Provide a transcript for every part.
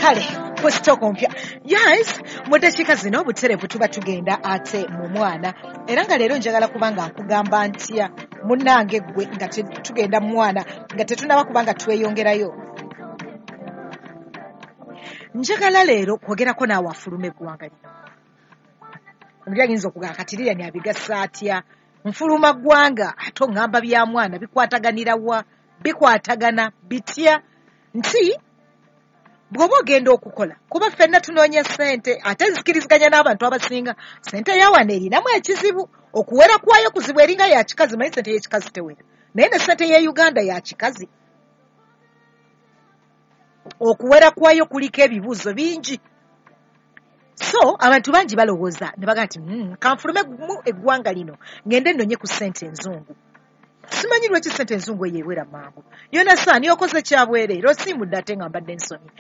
Kale ku sitooko mpya, yes, mu ddakiika zino butereevu tuba tugenda ate mu mwana, era nga leero njagala kuba nga nkugamba ntya munnange ggwe nga tugenda mu mwana nga tetunaba kuba nga tweyongerayo. Njagala leero kwogerako naawe afuluma eggwanga lino. Omuli ayinza okugamba kati Lilian abigasa atya, nfuluma ggwanga ate oŋŋamba bya mwana bikwataganira wa, bikwatagana bitya? Nti bw'oba ogenda okukola, kuba ffenna tunoonya ssente, ate nzikiriziganya n'abantu abasinga, ssente ya wano erinamu ekizibu, okuwera kwayo kuzibu, eringa ya kikazi. Manyi ssente y'ekikazi tewera, naye ne ssente ye Uganda ya kikazi, okuwera kwayo kuliko ebibuuzo bingi. So abantu bangi balowooza ne bagamba nti kanfulume mu eggwanga lino ngende nnonye ku ssente enzungu. Simanyi lwaki ssente enzungu eyo ewera mangu. Yona saani okoze kyabwereere, osiimudde ate nga mbadde nsomye.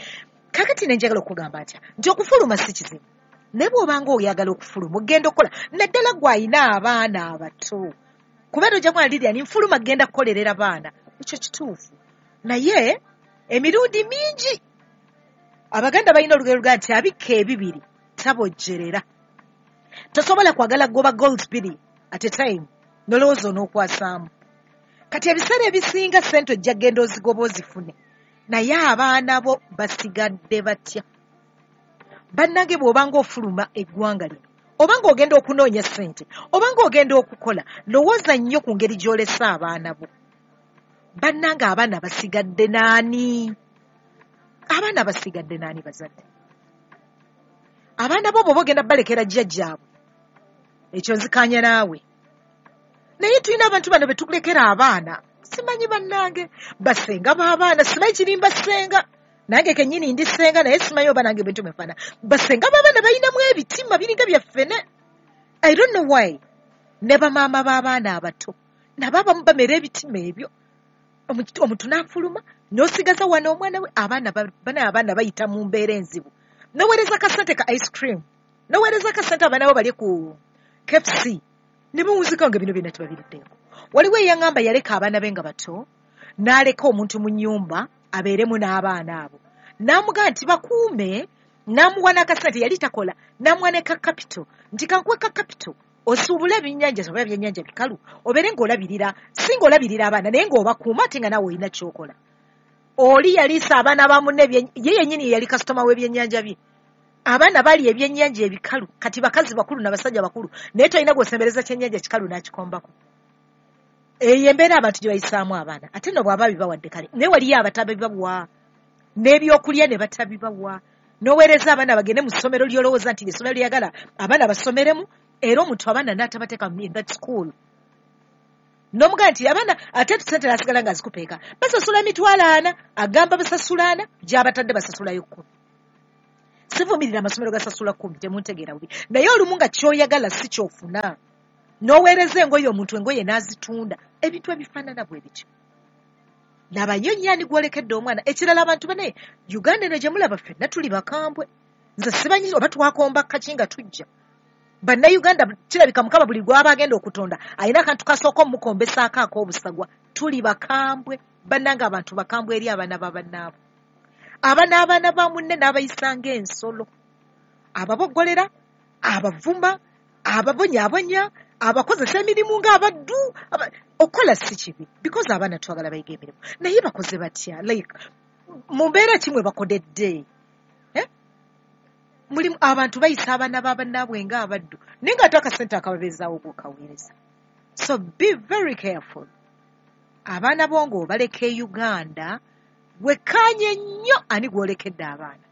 Kakati ne njagala okugamba ntya nti okufuluma si kizibu, naye bw'obanga oyagala okufuluma ogenda okukola, naddala gwe alina abaana abato, kubeera ojja kuba Lilian nfuluma genda kukolerera baana, ekyo kituufu. Naye emirundi mingi Abaganda balina olugero lugaa nti abikka ebibiri tabojjerera. Tosobola kwagala kugoba goals bbiri at a time n'olowooza onookwasaamu. Kati ebiseera ebisinga ssente ojja kugenda ozigoba ozifune, naye abaana bo basigadde batya? Bannange bw'obanga ofuluma eggwanga lino, oba ng'ogenda okunoonya ssente, oba ng'ogenda okukola, lowooza nnyo ku ngeri gy'olese abaana bo. Bannange abaana basigadde naani? Abaana basigadde naani bazadde? Abaana bo bw'oba ogenda balekera jjajjaabwe, ekyo nzikaanya naawe. Naye tulina abantu bano be tulekera abaana, simanyi bannange basenga b'abaana, simanyi kirimba ssenga, nange kennyini ndi ssenga, naye simanyi oba nange bwe nfaana. Basenga b'abaana balinamu ebitima biringa byaffe ne I don't know why. Ne bamaama b'abaana abato nabo abamu bamera ebitima ebyo. Omuntu n'afuluma n'osigaza wano omwana we, abaana bana abaana bayita mu mbeera enzibu. Noweereza kasente ka ice cream, noweereza kasente abaana bo balye ku KFC, ne bawunzika nga bino byonna tebabiriddeeko. Waliwo eyaŋŋamba yaleka abaana be nga bato, n'aleka omuntu mu nnyumba abeeremu n'abaana abo, n'amugamba nti bakuume, n'amuwa n'akasente, yali takola, n'amuwa ne ka capital nti kankuwe ka capital osuubule ebyennyanja oba ebyennyanja bikalu, obeere ng'olabirira, si ng'olabirira abaana naye ng'obakuuma ate nga naawe olina ky'okola. Oli yaliisa abaana ba munne, ye yennyini ye yali kasitoma w'ebyennyanja bye. Abaana bali ebyennyanja ebikalu, kati bakazi bakulu n'abasajja bakulu, naye tolina gw'osembereza kyennyanja kikalu n'akikombako. Eyo embeera abantu gye bayisaamu abaana. Ate nno bw'aba bibawadde kale, naye waliyo abatabibawa n'ebyokulya ne batabibawa. N'oweereza abaana bagende mu ssomero ly'olowooza nti ly'essomero lyagala abaana basomeremu, era omuntu abaana n'atabateeka in that school, n'omugamba nti abaana ate sente n'asigala nga azikupeeka, basasula 40,000, agamba basasula 40, gy'abatadde basasulayo 10. Sivumirira amasomero gasasula 10, temuntegeera bubi, naye olumu nga ky'oyagala si ky'ofuna. N'oweereza engoye omuntu, engoye n'azitunda, ebintu ebifaanana bwe bityo. Labayo nnyo ani gw'olekedde omwana. Ekirala abantu bane Uganda eno gye mulaba ffenna tuli bakambwe. Nze simanyi oba twakomba kaki nga tujja. Bannayuganda kirabika Mukama buli gw'aba agenda okutonda alina akantu kasooka omukombesaako ak'obusagwa. Tuli bakambwe bannange, abantu bakambwe eri abaana ba bannaabwe. Aba n'abaana ba munne n'abayisa ng'ensolo, ababoggolera, abavuma, ababonyaabonya, abakozesa emirimu ng'abaddu. Okukola si kibi, because abaana twagala bayiga emirimu, naye bakoze batya? Like mu mbeera ki mwe bakodedde? Mulimu abantu bayisa abaana ba bannaabwe ng'abaddu, naye ng'ate akasente akababeezaawo gwokaweereza. So be very careful. Abaana bo ng'obaleka e Uganda, wekkaanye nnyo ani gw'olekedde abaana.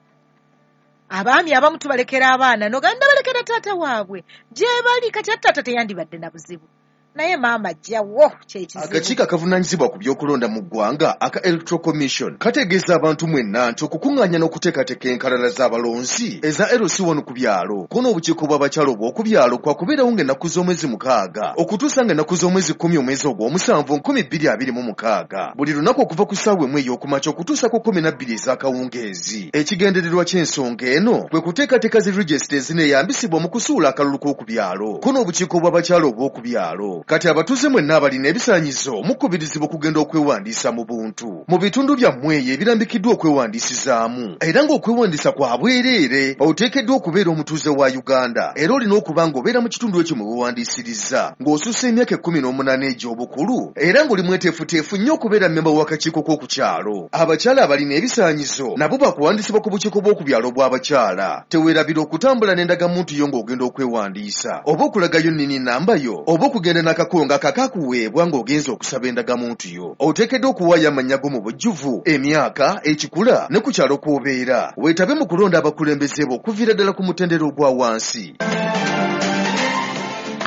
Abaami abamu tubalekera abaana n'ogamba ndabalekera taata waabwe gye bali, kati ate taata teyandibadde na buzibu, naye maama ajjawo kyekizibu. Akakiiko akavunaanyizibwa ku by'okulonda mu ggwanga aka Electoral Commission kategeeza abantu mwenna nti okukuŋŋaanya n'okuteekateeka enkalala z'abalonzi eza LC1 ku byalo ko n'obukiiko bw'abakyala obw'oku byalo kwakubeerawo ng'ennaku z'omwezi 6 okutuusa ng'ennaku z'omwezi 10 omwezi ogw'omusanvu 2026, buli lunaku okuva ku ssaawa 1 ey'okumakya okutuusa ku 12 ez'akawungeezi. Ekigendererwa ky'ensonga eno kwe kuteekateeka zi regisita ezineeyambisibwa mu kusuula akalulu k'oku byalo ko n'obukiiko bw'abakyala obw'oku byalo. Kati abatuuze mwenna abalina ebisaanyizo mukubirizibwa okugenda okwewandiisa mu buntu mu bitundu byammwe eyo ebirambikiddwa okwewandiisizaamu, era ng'okwewandiisa kwa bwereere. Oteekeddwa okubeera omutuuze wa Uganda era olina okuba ng'obeera mu kitundu ekyo mwe weewandiisiriza, ng'osussa emyaka 18 egy'obukulu, era ng'oli mweteefuteefu nnyo okubeera mmemba w'akakiiko k'oku kyalo. Abakyala abalina ebisaanyizo nabo bakuwandiisibwa ku bukiiko bw'oku byalo bw'abakyala. Teweerabira okutambula n'endagamuntu yo ng'ogenda okwewandiisa, oba okulagayo nnini namba yo, oba okugenda n'akakongo akakakuweebwa ng'ogenze okusaba endagamuntu yo. Oteekeddwa okuwaayo amannya go mu bujjuvu, emyaka, ekikula ne ku kyalo kw'obeera. Weetabe mu kulonda abakulembeze bo okuviira ddala ku mutendera ogwa wansi.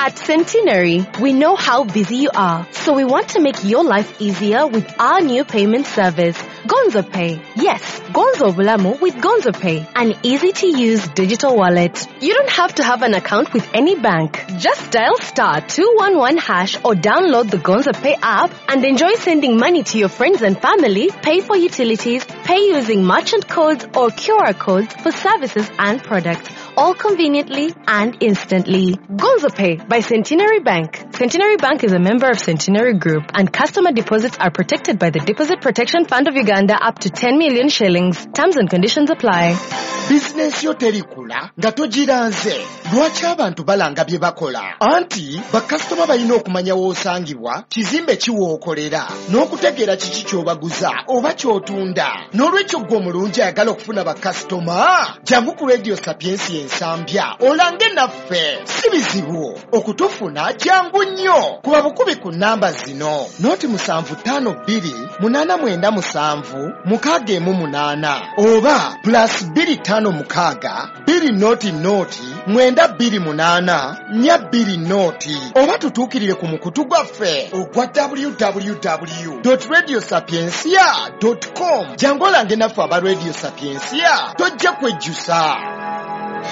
At Centenary, we know how busy you are, so we want to make your life easier with our new payment service, Gonzo Pay. Yes, Gonzo Bulamu with Gonzo Pay, an easy-to-use digital wallet. You don't have to have an account with any bank. Just dial *211# or download the Gonzo Pay app and enjoy sending money to your friends and family, pay for utilities, pay using merchant codes or QR codes for services and products, all conveniently and instantly. Gonzo Pay by Centenary Bank. Centenary Bank is a member of Centenary Group, and customer deposits are protected by the Deposit Protection Fund of Uganda up to 10 million shillings. Terms and conditions apply. Bizinensi yo terikula nga togiranze. Lwaki abantu balanga bye bakola? Anti bakasitoma balina okumanya w'osangibwa, kizimbe ki w'okolera, n'okutegeera kiki ky'obaguza oba ky'otunda. N'olwekyo ggwe omulungi ayagala okufuna bakasitoma, jangu ku Radio Sapiensia Ensambya olange naffe. Si bizibu okutufuna, jangu nnyo. Kuba bukubi ku nnamba zino: 075 2897 618 oba +256 200 928 420, oba tutuukirire ku mukutu gwaffe ogwa www.radiosapiencia.com. Jangu olange naffe aba Radio Sapiencia, tojja kwejjusa.